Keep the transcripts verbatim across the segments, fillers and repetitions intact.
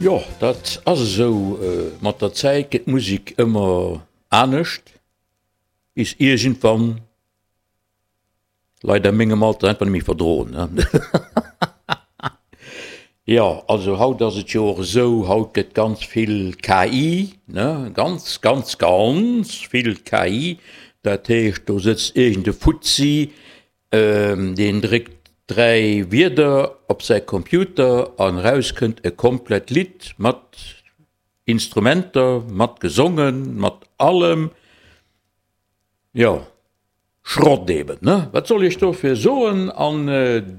Jo, dat ass esou. Mat der Zäit gëtt d'Musek ëmmer anescht, bis iergendwann Leit a mengem Alter einfach net méi verdroen, ne? Jo, also haut ass et jo och esou, haut gëtt ganz vill KI, ne, ganz, ganz, ganz vill KI. Dat heescht, do sëtzt iergend e Fuzzi, deen dréckt dräi Wierder op säi Computer an eraus kënnt e komplett Lidd mat Instrumenter, mat gesongen, mat allem. Jo, Schrott eben, ne? Wat soll ech dofir soen? An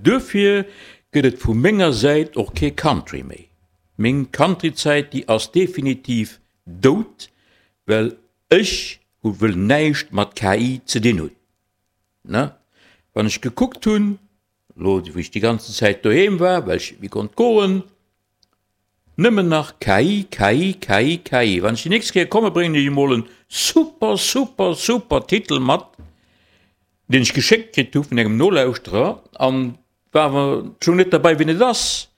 duerfir gëtt et vu menger Säit och kee Country méi. Meng Country-Zäit, déi ass definitiv dout, well ech hu wëll näischt mat KI ze dinn hunn, ne? Wann ech gekuckt hunn, elo wou ech déi ganzen Zäit doheem war, well ech net méi konnt goen, Nëmmen nach KI, KI, KI, KI. Wann ech déi nächst Kéier komme bréngen ech emol en super, super, super Titel mat, deen ech geschéckt kritt hu vun engem Nolauschterer an war awer schon net derbei wien et ass.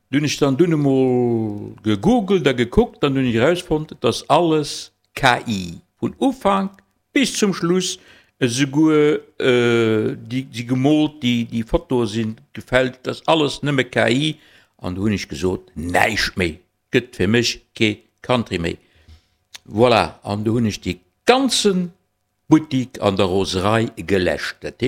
Du hunn ech dann dunn emol gegoogelt a gekuckt an dunn hunn ech erausfonnt, et ass alles KI vun Ufank bis zum Schluss, esouguer déi si gemoolt, déi Fotoe si gefälscht, dat ass alles nëmme KI. An do hunn ech gesot, näischt méi, gëtt fir mech kee Country méi. Voilà, an do hunn ech dee ganze Buttik an der Roserei geläscht. Dat heescht.